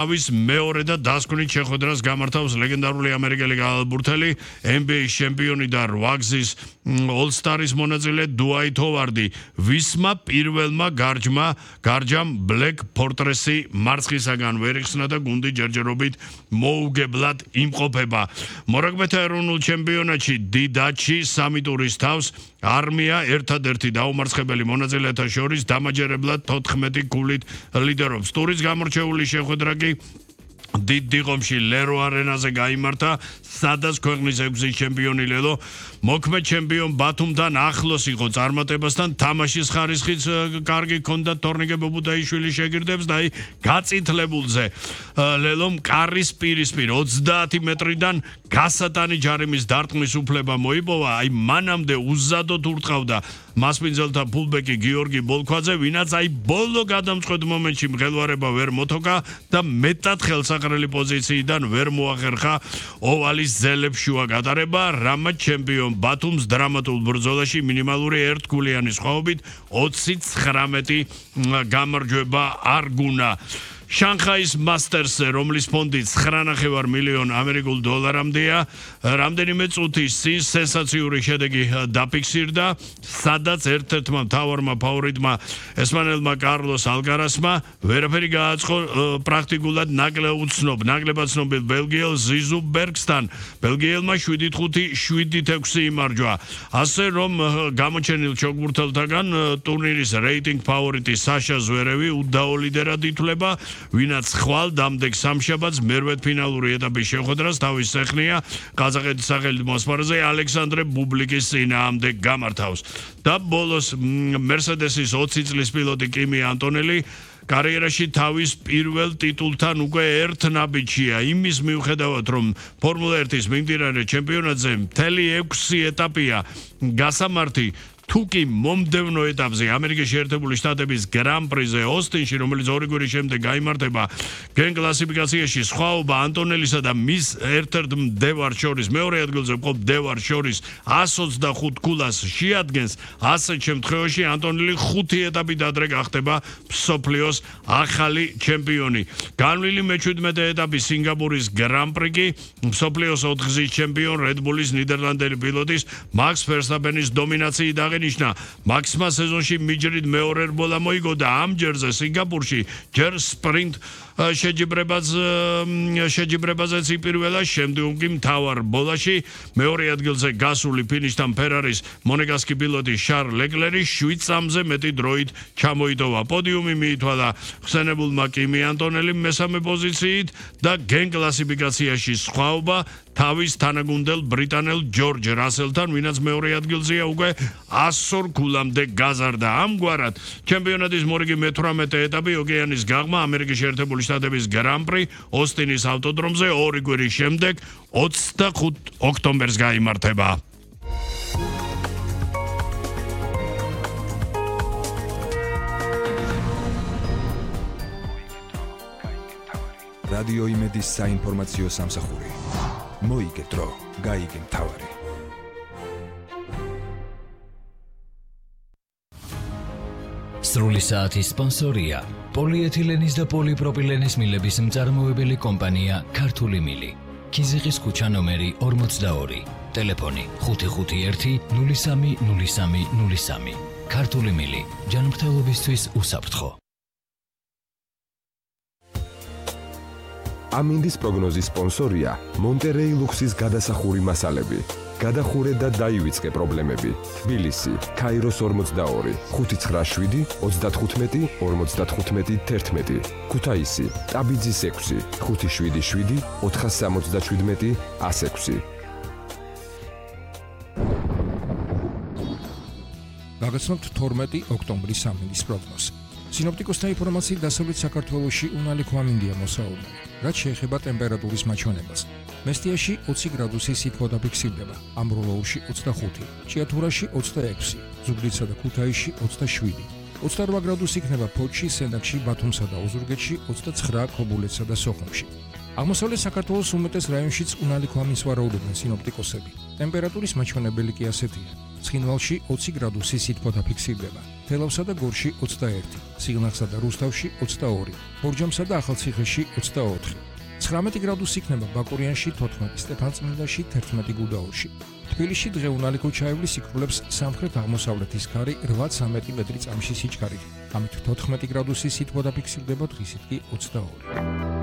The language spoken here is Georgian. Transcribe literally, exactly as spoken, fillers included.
ავის მეორე და დასკვნით შეხვედრას გამართავს ლეგენდარული ამერიკელი გალბურთელი N B A-ის ჩემპიონი და რვაგზის All-Star-ის მონაწილე დუაიტ ჰოვარდი ვისმა პირველმა გარჯმა გარჯამ Black Fortress-ი მარცხისაგან ვერ იხსნა და გუნდი ჯერჯერობით მოუგებლად იმყოფება. მორაგბეთა ეროვნულ ჩემპიონატში დიდაჩი სამი ტურის თავს არმია ერთადერთი დაუმარცხებელი მონაწილეთა შორის დამაჯერებლად თოთხმეტი გულით ლიდერობს. ტურის გამორჩეული შეხვედრა კი დიდ დიღომში ლერო არენაზე გაიმართა, სადაც ქვეყნის ექვსის ჩემპიონი ლელო მოქმედ ჩემპიონ ბათუმთან ახლოს იყო წარმატებასთან, თამაშის ხარისხიც კარგი ჰქონდა თორნიკე ბობუდაიშვილის შეგირდებს და აი გაწითლებულზე ლელომ კარის პირისპირ ოცდაათი მეტრიდან გასატანი ჯარიმის დარტყმის უფლება მოიპოვა. აი მანამდე უზადოდ ურტყავდა მასპინძელთა ფულბეკი გიორგი ბოლქვაძე, ვინაც აი ბოლო გადამწყვეტ მომენტში მღელვარება ვერ მოთოკა და მეტად ხელსაყრელი პოზიციიდან ვერ მოახერხა ოვალის ძელებს შუა გატარება, რამაც ჩემპიონ ბათუმს დრამატულ ბრძოლაში მინიმალური ერთგულიანი სხვაობით ოცი ცხრამეტი გამარჯვება არ გუნა. შანხაის მასტერსზე, რომლის ფონდი ცხრა ნახევარ მილიონ ამერიკულ დოლარამდეა, რამდენიმე წუთის წინ სენსაციური შედეგი დაფიქსირდა, სადაც ერთ-ერთმა მთავარმა ფავორიტმა ესპანელმა კარლოს ალკარასმა ვერაფერი გააწყო პრაქტიკულად ნაკლებ უცნობ, ნაკლებად ცნობილ ბელგიელ ზიზუ ბერგსთან. ბელგიელმა შვიდით ხუთი, შვიდით ექვსი იმარჯვა. ასე რომ გამოჩენილ ჩოგბურთელთაგან ტურნირის რეიტინგ ფავორიტი საშა ზვერევი უდაო ლიდერად ითვლება, ვინაც ხვალ დამდეგ სამშაბათს მერვედფინალური ეტაპის შეხვედრას თავის სეხნია ყაზახეთის სახელით მოსპარზე ალექსანდრე ბუბლიკის წინააღმდეგ გამართავს. და ბოლოს მერსედესის ოცი წლის პილოტი კიმი ანტონელი კარიერაში თავის პირველ ტიტულთან უკვე ერთ ნაბიჯია, იმის მიუხედავად რომ ფორმულა ერთის მიმდინარე ჩემპიონატზე მთელი ექვსი ეტაპია გასამართი, თუკი მომდევნო ეტაპზე ამერიკის შეერთებული შტატების გრან პრიზე ოსტინში, რომელიც ორი კვირის შემდეგ გაიმართება, გენ კლასიფიკაციაში სხვაობა ანტონელისა და მის ერთ-ერთ მდევარ შორის, მეორე ადგილზე მყოფ მდევარ შორის ას ოცდახუთ ქულას შეადგენს, ასეთ შემთხვევაში ანტონელი ხუთი ეტაპით ადრე გახდება მსოფლიოს ახალი ჩემპიონი. განვლილი მეჩვიდმეტე ეტაპი სინგაპურის გრან პრი კი მსოფლიოს ოთხგზის ჩემპიონ რედბულის ნიდერლანდელი პილოტის მაქს ფერსტაპენის დომინაციით აღენიშნა. მაქსმა სეზონში მიჯრით მეორე რბოლა მოიგო და ამ ჯერზე სინგაპურში ჯერ სპრინტ შეჯიბრებაც შეჯიბრებაზეც იპირველა, შემდგომ კი მთავარ ბოლაში მეორე ადგილზე გასული ფინიშთან ფერარის მონეგასკი პილოტი შარლ ლეკლერი შვიდ წამზე მეტი დროით ჩამოიტოვა. პოდიუმი მიითვალა ხსენებულმა კიმი ანტონელიმ მესამე პოზიციით და გენ კლასიფიკაციაში სხვაობა თავის თანაგუნდელ ბრიტანელ ჯორჯ რასელთან, ვინაც მეორე ადგილზეა უკვე ასორ ქულამდე გაზარდა. ამგვარად ჩემპიონატის მორიგი მეთვრამეტე ეტაპი ოკეანის გაღმა ამერიკის შეერთებული შტატების გრან პრი ოსტინის ავტოდრომზე ორი კვირის შემდეგ ოცდახუთ ოქტომბერს გაიმართება. რადიო იმედის საინფორმაციო სამსახური. მოიგე დრო, გაიგე მთავარი. სრული საათის სპონსორია პოლიეთილენის და პოლიპროპილენის მილების მწარმოებელი კომპანია ქართული მილი. ქიზიყის ქუჩა ნომერი ორმოცდაორი. ტელეფონი ხუთი ხუთი ერთი ნული სამი ნული სამი ნული სამი. ქართული მილი. ჯანმრთელობისთვის უსაფრთხო. ამინდის პროგნოზის სპონსორია მონტერეი ლუქსის გადასახური მასალები. გადახურე და დაივიწყე პრობლემები. თბილისი, ქაიროს ორმოცდაორი, ხუთი ცხრა შვიდი, ოცდათხუთმეტი, ორმოცდათხუთმეტი, თერთმეტი. ქუთაისი, ტაბიძის ექვსი, ხუთი შვიდი შვიდი, ოთხას სამოცდაშვიდმეტი, ას ექვსი. გაგაცნობთ თორმეტი ოქტომბრის ამინდის პროგნოზი. სინოპტიკოსთა ინფორმაციით დასავლეთ საქართველოში უნალი ქვამინდია მოსაუბნელი, რაც შეეხება ტემპერატურის მაჩვენებას. მესტიაში ოცი გრადუსი სითბო დაფიქსირდება, ამბროლოურში ოცდახუთი, ჭიათურაში ოცდაექვსი, ზუგდიდსა და ქუთაისში ოცდაშვიდი, ოცდარვა გრადუსი იქნება ფოთში, სენაკში, ბათუმსა და ოზურგეთში, ოცდაცხრა ქობულეთსა და სოხუმში. აღმოსავლეთ საქართველოს უმეტეს რაიონშიც უნალი ქვამის ვარაუდობენ სინოპტიკოსები. ტემპერატურის მაჩვენებელი კი ასეთია. ცხინვალში ოცი გრადუსი სითბო დაფიქსირდება, თელავსა და გორში ოცდაერთი, სიღნაღსა და რუსთავში ოცდაორი, ბორჯომსა და ახალციხეში ოცდაოთხი. ცხრამეტი გრადუსი იქნება ბაკურიანში თოთხმეტი, სტეფანწმინდაში თერთმეტი გუდაურში. თბილისში დღე უნალიქო ჩაივლის იქრულებს სამხრეთ-აღმოსავლეთის ქარი რვა ცამეტი მეტრი წამში სიჩქარით. ამით თოთხმეტი გრადუსი სითბო დაფიქსირდება, დღისით კი ოცდაორი.